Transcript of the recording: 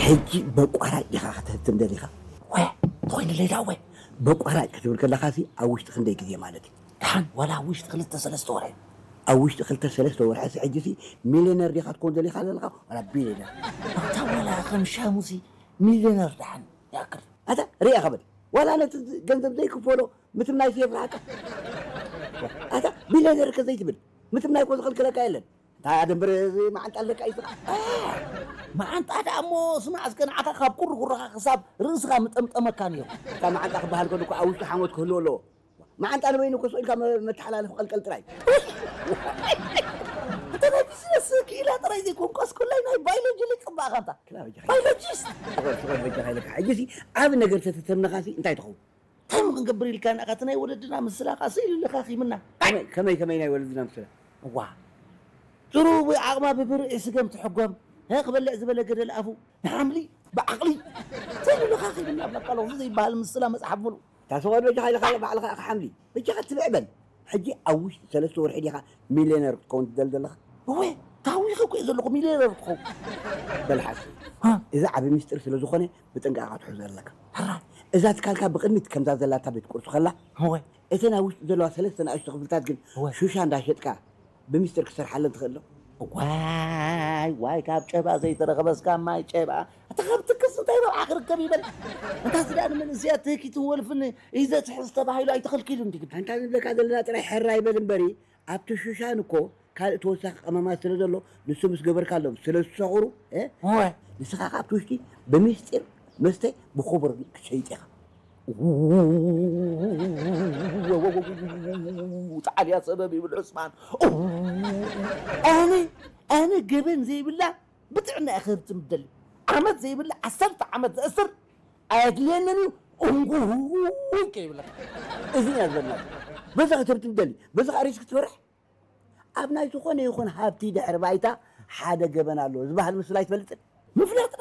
ሕጂ በቋራጭ ዲኻ ክትህትም ደሊኻ? ወ ተኾይንለይ ደኣ ወ በቋራጭ ክትብል ከለኻሲ ኣብ ውሽጢ ክንደይ ግዜ ማለት እዩ? ደሓን ዋላ ኣብ ውሽጢ ክልተ ሰለስተ ወርሒ። ኣብ ውሽጢ ክልተ ሰለስተ ወርሒ ሲ ሕጂ ሲ ሚልዮነር ዲኻ ትኮን ደሊኻ ዘለኻ ዋላ ቢልዮነር? ኣታ ዋላ ከም ሻሙሲ ሚልዮነር ደሓን ያክል። ኣታ ሪኣ ኸበል ዋላ ነቲ ገንዘብ ዘይክፈሎ ምትምናይ የፍርሃካ። ኣታ ቢልዮነር ከ ዘይትብል ምትምናይ እኮ ዝኸልክለካ የለን። እንታይ ኣደንብር እዚ መዓንጣ ኣለካ እዩ ስኻ። መዓንጣ ደኣ እሞ ስማዕ እስከ ንዓኻ ካብ ቁርቁርኻ ክሳብ ርእስኻ ምጠምጠመካ ነይሩ። እታ መዓንጣ ክበሃል ከሎ እኮ ኣብ ውሽጢ ሓሞት ክህልዎ ኣለዎ። መዓንጣ ንበይኑ እኮ ስቕ ኢልካ መ- መተሓላለፊ ቀልቀል ጥራይ። እንተ ናይ ቢዝነስ ክኢላ ጥራይ ዘይኮንኳስ ኩላይ ናይ ባዮሎጂ ሊቅ እምበኣኻ እንታ። ክላ በጃኻ። ባዮሎጂስት። ስቕ በል፣ ስቕ በል በጃኻ ኢለካ። ሕጂ ሲ ዓቢ ነገር ተተተምነኻ ሲ እንታይ ትኸውን? እንታይ ክንገብር ኢልካ ንኣኻ እቲ ናይ ወለድና ምስላ ኸዓ ስኢሉ ለኻኺምና። ከመይ ከመይ ከመይ ናይ ወለድና ምስላ? እዋ ጥሩ ዓቕማ ብብርዒ ስገም ትሕጎም። ሀ ክበልዕ ዝበለ ገደል ኣፉ ንሓምሊ ብዓቕሊ ስኢሉ ለኻኺምና ብላካ ኣለኹ ዘይበሃል ምስላ መፅሓፍ ሙሉ። እታ ሰብኣት በጃኻ ኢልካ ባዕልኻ ኢኻ ሓምሊ። በጃኻ ትብዕ በል። ሕጂ ኣብ ውሽጢ ሰለስተ ወርሒ ዲኻ ሚልዮነር ክትከውን ትደሊ ዘለኻ? እወ ታዊኸ እኮ እየ ዘለኹ ሚልዮነር ክትኸውን። በል ሓሱ። ሃ? እዚ ዓቢ ሚስጥር ስለ ዝኾነ ብጥንቃቐ ክትሕዞ ኣለካ። ሕራይ። እዛ ትካልካ ብቕድሚት ከምዛ ዘላታ ቤት ቁርሲ ከላ እወ። እተን ኣብ ውሽጢ ዘለዋ ሰለስተ ንኣሽቱ ክፍልታት ግን እወ። ሹሻ እንዳሸጥካ ብሚስጥር ክትሰርሓለን ትኽእል ዶ? ዋይ ዋይ ካብ ጨባ ዘይተረኸበስ ካብ ማይ ጨባ ኣታ ካብ ትክስ እንታይ ረብሓ ክርከብ ይበል። እንታ ስዳ ንመንእሰያት ትህኪትን ወልፍን እዩ ዘትሕዝ ተባሂሉ ኣይተኸልኪሉ እንዲ ግን ኣንታ ንብለካ ዘለና ጥራይ ሕራይ በል እምበሪ ኣብቲ ሹሻን እኮ ካልእ ተወሳኺ ቀመማት ስለ ዘሎ ንሱ ምስ ገበርካሎም ስለ ዝሰኽሩ እ? እወ። ንስኻ ካብቲ ውሽጢ ብምስጢር መስተ ብኽቡር ክትሸይጥ ኢኻ። ጣዕልያ ሰበብ ይብል ዑስማን። ኣነ ኣነ ገበን ዘይብላ ብጥዕና እየ ክህብትም ደሊ። ዓመት ዘይብላ ዓሰርተ ዓመት ዘእስር ኣየድልየንን እዩ። እንጉ ከይብለካ እዚ እያ ዝበልና። በዛ ክትህብትም ደሊ በዛ ሪስክ ትፈርሕ ኣብ ናይ ዝኾነ ይኹን ሃብቲ ድሕሪ ባይታ ሓደ ገበን ኣለዎ ዝበሃል ምስላ ኣይትፈልጥን? ምፍላጥ